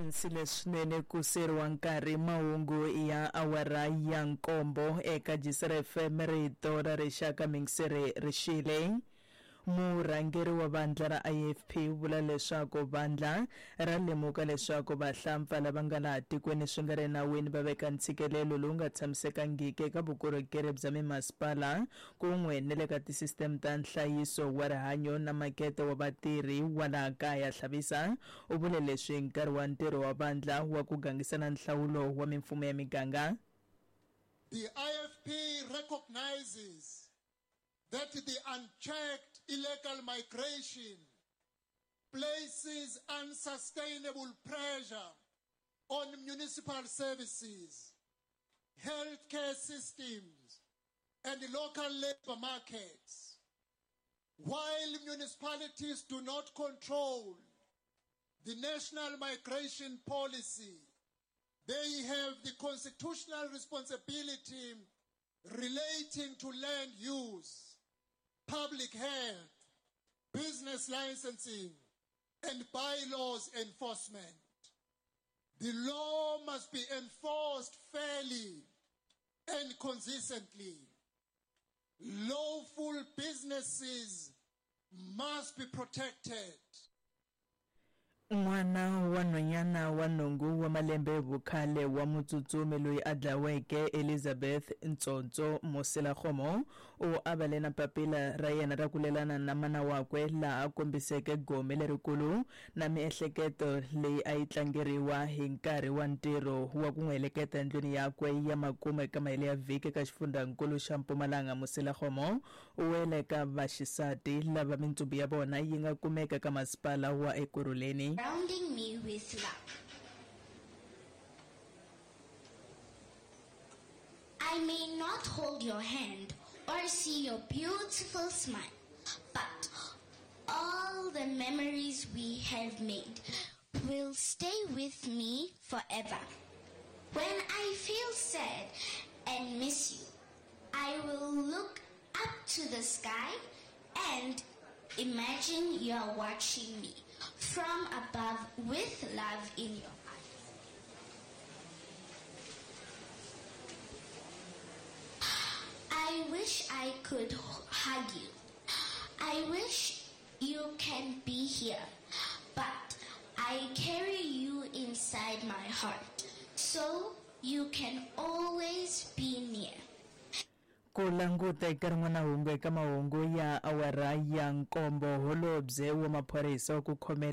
Khensile swinene ku seriwa nkarhi mahungu ya awara ya nkombo eka Jisere FM rito ra rixaka mingiseri rixile. Murhangeri wa vandla ra IFP u vula leswaku vandla ra lemuka leswaku vahlampfa lava nga laha tikweni swi nga ri enawini va veka ntshikelelo lowu nga tshamisekangiki eka vukorhokeri bya mimasipala kun'we ni le ka tisisiteme ta nhlayiso wa rihanyo na makete wa vatirhi wa laha kaya. Hlabisa u vule leswi hi nkarhi wa ntirho wa vandla wa ku gangisana nhlawulo wa mimfumo ya miganga. The IFP recognizes that the unchecked illegal migration places unsustainable pressure on municipal services, healthcare systems, and local labor markets. While municipalities do not control the national migration policy, they have the constitutional responsibility relating to land use, public health, business licensing, and bylaws enforcement. The law must be enforced fairly and consistently. Lawful businesses must be protected. N'wana wa nhwanyana wa nhungu wa malembe vukhale wa mutsutsumi loyi a dlaweke Elizabeth Ntsontso Moselakgomo u avale na papila ra yena ra ku lelana na mana wakwe laha a kombiseke gome lerikulu na miehleketo leyi a yi tlangeriwa hi nkarhi wa ntirho wa ku n'wi heleketa endlwini yakwe ya makumu eka mahelo ya vhiki eka xifundhankulu xa Mpumalanga. Moselakgomo u wele eka vaxisati lava mintsumbu ya vona yi nga kumeka eka masipala wa Ekurhuleni. Surrounding me with love. I may not hold your hand or see your beautiful smile, but all the memories we have made will stay with me forever. When I feel sad and miss you, I will look up to the sky and imagine you're watching me from above with love in your eyes. I wish I could hug you. I wish you can be here, but I carry you inside my heart so you can always be near. Ku languta eka rin'wana hungu eka mahungu ya awara ya nkombo, holobye wa maphorisa wa ku khomela